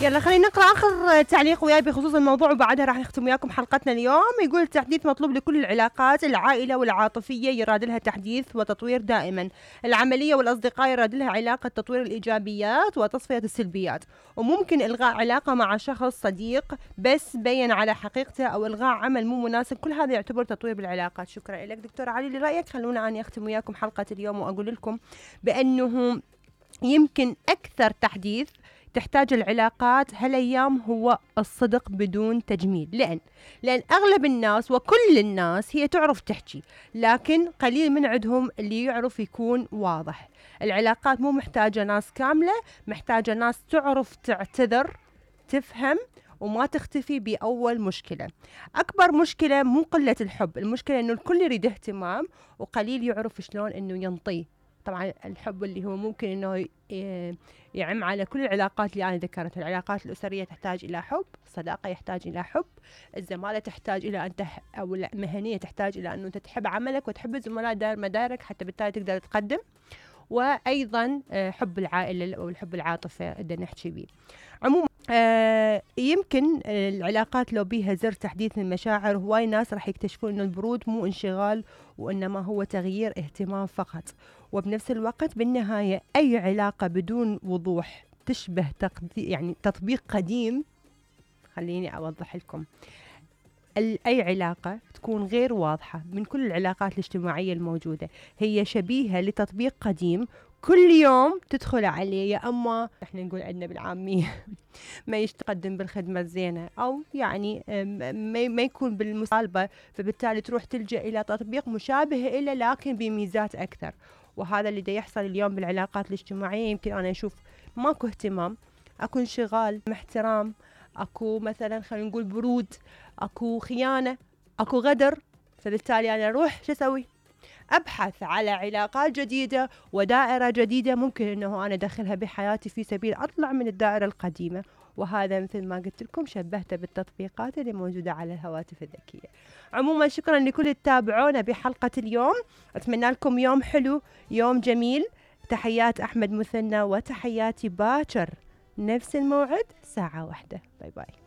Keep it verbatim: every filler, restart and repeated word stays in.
يلا خلينا نقرأ آخر تعليق وياي بخصوص الموضوع وبعدها راح نختم وياكم حلقتنا اليوم. يقول التحديث مطلوب لكل العلاقات، العائلة والعاطفية يراد لها تحديث وتطوير دائما، العملية والأصدقاء يراد لها علاقة تطوير الإيجابيات وتصفية السلبيات، وممكن إلغاء علاقة مع شخص صديق بس بين على حقيقته أو إلغاء عمل مو مناسب، كل هذا يعتبر تطوير بالعلاقات. شكرا لك دكتور علي لرأيك. خلونا أنا أختم وياكم حلقة اليوم وأقول لكم بأنه يمكن أكثر تحديث تحتاج العلاقات هالأيام هو الصدق بدون تجميل. لأن لأن أغلب الناس وكل الناس هي تعرف تحكي، لكن قليل من عندهم اللي يعرف يكون واضح. العلاقات مو محتاجة ناس كاملة، محتاجة ناس تعرف تعتذر، تفهم، وما تختفي بأول مشكلة. أكبر مشكلة مو قلة الحب، المشكلة إنه الكل يريد اهتمام وقليل يعرف شلون إنه ينطيه. طبعا الحب اللي هو ممكن إنه يعم على كل العلاقات اللي أنا ذكرتها. العلاقات الأسرية تحتاج إلى حب، الصداقة يحتاج إلى حب، الزمالة تحتاج إلى أن تح أو المهنية تحتاج إلى أنه أنت تحب عملك وتحب الزملاء دار مدارك حتى بالتالي تقدر تقدم، وأيضا حب العائلة أو الحب العاطفة بدنا نحكي بيه. عموما آه يمكن العلاقات لو بيها زر تحديث المشاعر، هواي ناس راح يكتشفون إنه البرود مو انشغال وإنما هو تغيير اهتمام فقط. وبنفس الوقت بالنهاية أي علاقة بدون وضوح تشبه تقدي يعني تطبيق قديم. خليني أوضح لكم، أي علاقة تكون غير واضحة من كل العلاقات الاجتماعية الموجودة هي شبيهة لتطبيق قديم كل يوم تدخل عليه، يا أما احنا نقول عندنا بالعامية ما يتقدم بالخدمة الزينة، أو يعني ما يكون بالمصالبة، فبالتالي تروح تلجأ إلى تطبيق مشابه إليه لكن بميزات أكثر. وهذا اللي دا يحصل اليوم بالعلاقات الاجتماعية. يمكن أنا أشوف ماكو اهتمام، أكو انشغال، احترام، أكو مثلا خلينا نقول برود، أكو خيانة، أكو غدر، فبالتالي أنا أروح شو أسوي؟ أبحث على علاقات جديدة ودائرة جديدة ممكن أنه أنا أدخلها بحياتي في سبيل أطلع من الدائرة القديمة. وهذا مثل ما قلت لكم شبهته بالتطبيقات اللي موجودة على الهواتف الذكية. عموما شكرا لكل التابعونا بحلقة اليوم، أتمنى لكم يوم حلو، يوم جميل. تحيات أحمد مثنى وتحياتي باكر، نفس الموعد ساعة واحدة. باي باي.